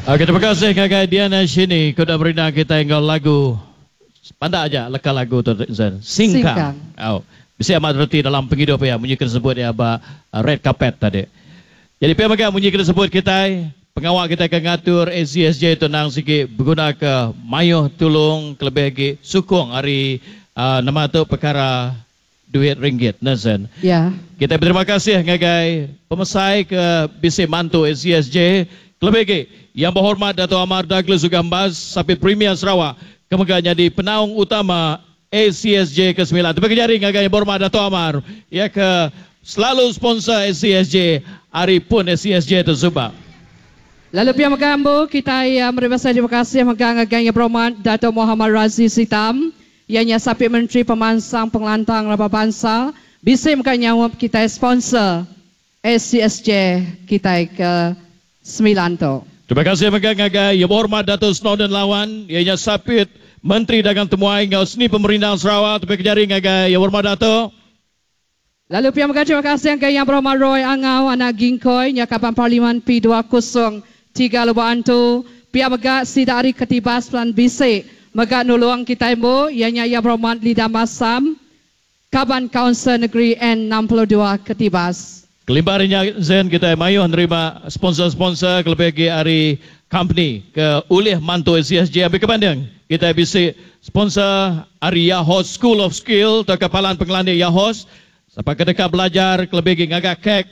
Okay, terima kasih ngagai Diana Shini ke udah merindang kitai enggau lagu pandak aja leka lagu tu Zen. Singkang. Singkang. Au. Bisi amat reti dalam pengidup iya munyi ke disebut iya ba red carpet tadi. Jadi pia mega munyi ke disebut kitai pengawa kitai ke ngatur ACSJ tu endang sigi begunaka mayuh tulung kelebih agi sukung ari nama tu pekara duit ringgit ne Zen. Ya. Kitai beterima kasih ngagai pemesai ke bisi mantu ACSJ kelebih agi Yang Berhormat Datuk Amar Douglas Uggah Embas Sapit Premier Sarawak ke mega nyadi penaung utama ACSJ ke semilan. Tepika jari ngagai Yang Berhormat Datuk Amar iya ke selalu sponsor ACSJ ari pun ACSJ tu suba. Lalu pia mega embu kitai meri besai terima kasih mega ngagai Yang Berhormat Datuk Mohamad Razi Sitam Iya nya Sapit Menteri Pemansang Pengelantang Raban Bansa bisi mega nyaup kitai sponsor ACSJ kitai ke semilan tu. Terima kasih mega ngagai Yang Berhormat Datuk Snowdan Lawan, iya nya Sapit Menteri Dagang Temuai enggau Seni Pemerindang Sarawak. Tepika jari ngagai Yang Berhormat Datuk. Lalu pia mega terima kasih ngagai Yang Berhormat Roy Angau anak Gingkoi nya Kaban Parlimen P 203 Lubok Antu. Pia mega sida ari Ketibas Pelan Bisi mega nulung kitai embu iya nya Yang Berhormat Lida Masam Kaban Kaunsil Negeri N 62 Ketibas. Kelimpah ari nya Zen kitai mayuh nerima sponsor-sponsor kelebih agi ari company ke ulih mantu ACSJ ambi ke banding kitai bisi sponsor ari Yahos School of Skill tauka Palan Pengelandik Yahos sapa ke deka belajar kelebih agi ngaga kek,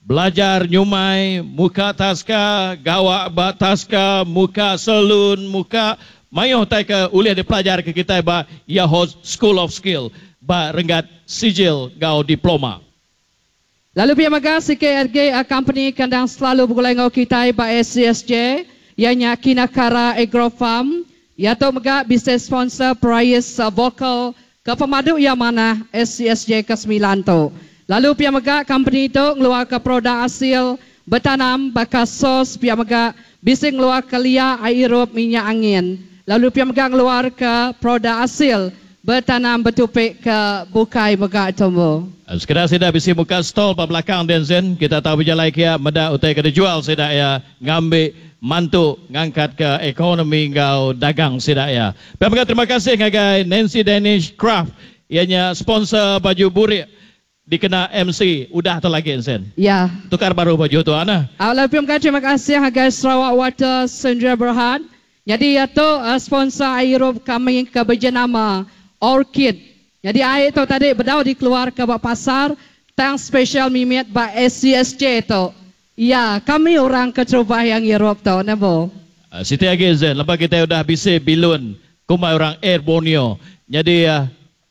belajar nyumai, muka taska, gawa ba taska, muka saloon, muka mayuh utai ke ulih dipelajar ke kitai ba Yahos School of Skill ba renggat sijil enggau diploma. Lalu pia mega CKRG company ke endang selalu begulai enggau kitai ba ACSJ iya nya Kinakara Agro Farm. Iya tu mega bisi sponsor perais vokal ke pemadu iya manah ACSJ ke semilan tu. Lalu pia mega company tu ngeluarka produk asil betanam baka sos pia mega bisi ngeluarka lia ai irup minyak angin. Lalu pia mega ngeluarka produk asil Betanam betupi ke bukai mega tumbuh. Sekeda sida bisi muka stall ba belakang din sin, kita tau bejalai kia meda utai ke dijual sida iya ngambi mantu ngangkatka ekonomi enggau dagang sida iya. Pia mega terima kasih ngagai Nancy Danish Craft iya nya sponsor baju burik dikena MC udah tu lagi sin. Ya. Tukar baru baju tu ana. Au lalu pia mega terima kasih ngagai Sarawak Water Sendirian Berhad nyadi iya tu sponsor ai irup kami ke bejenama Orchid. Nyadi ai tu tadi bedau dikeluarka ba pasar tang special mimit ba ACSJ tu. Ya kami orang keterubah iya ngirup tu neh bu. Siti agi Zen lebuh kitai udah bisi bilun kumbai orang Air Borneo nyadi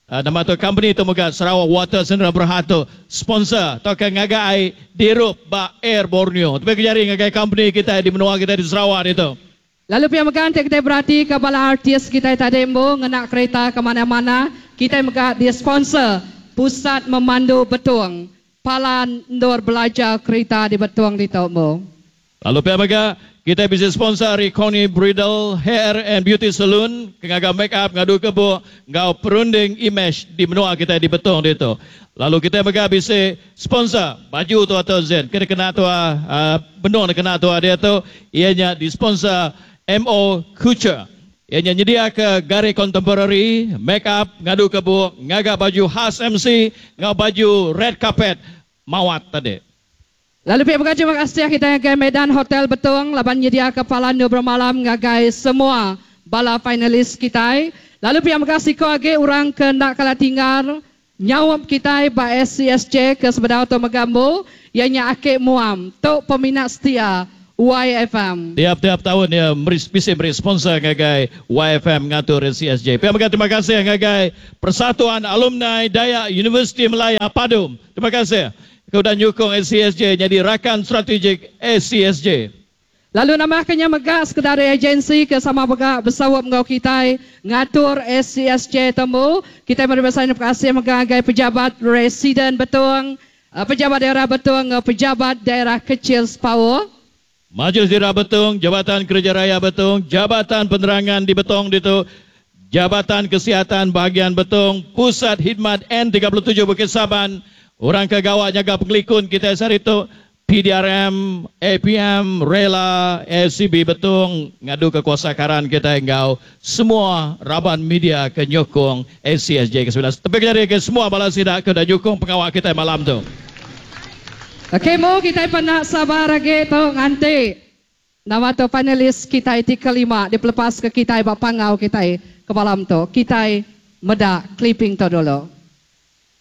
Nama tu company tu mega Sarawak Water Sendirian Berhad tu sponsor tauka ngaga ai dirup ba Air Borneo. Tebih ke jari ngagai company kitai di menua kitai di Sarawak ditu. Lalu pia mega enti kitai berati ka bala artis kitai tadi embu ngena kereta ke manah-manah, kitai mega di sponsor Pusat Memandu Betong, palan endur belajar kerita di Betong ditu embu. Lalu pia mega, kitai bisi sponsor ari Connie Bridal Hair and Beauty Saloon ke ngaga make up ngadu ke buk enggau perunding imej di menua kitai di Betong ditu. Lalu kitai mega bisi sponsor baju tua tu Zen ke dikena tua benung dikena tua diatu iya nya disponsor MO Couture. Iya nya nyediaka gari kontemporari, make up, ngadu ke buk, ngaga baju khas MC enggau baju red carpet mawat tadi. Lalu pia mega terima kasih kitai ngagai Medan Hotel Betong laban nyediaka palan endur bermalam ngagai semua bala finalis kitai. Lalu pia mega siko agi orang ke enda kala tinggal nyaup kitai ba SCSJ ke sebedau tu mega embu iya nya Ake Muam tu peminat setia YFM. Tiap-tiap taun iya meri bisi meri sponsor ngagai YFM ngatur SCSJ. Pia mega terima kasih ngagai Persatuan Alumni Dayak Universiti Malaya, PADUM. Terima kasih. Ke udah nyukung ACSJ nyadi rakan strategik ACSJ. Lalu nambahka nya mega sekeda ari agensi ke sama mega besaup enggau kitai ngatur ACSJ tembu. Kitai meri besai terima kasih mega ngagai Pejabat Residen Betong, Pejabat Daerah Betong enggau Pejabat Daerah Kecil Spaoh. Majlis Daerah Betong, Jabatan Kereja Raya Betong, Jabatan Penerangan di Betong ditu, Jabatan Kesihatan Bahagian Betong, Pusat Khidmat N 37 Bukit Saban, orang ke gawa nyaga pengelikun kitai sehari tu, PDRM, APM, Rela, SCB Betong ngadu ke kuasa karan kita enggau semua raban media ke nyokong ACSJ ke-19. Tepik jari ke semua bala sida ke dah nyukung pengawa kita malam tu. Okey, mu kita pernah sabar lagi tu nganti. Nama tu panelis kita ti kelima dipelepas ke kita ba pangau kita ke malam tu. Kita meda clipping tu dulu.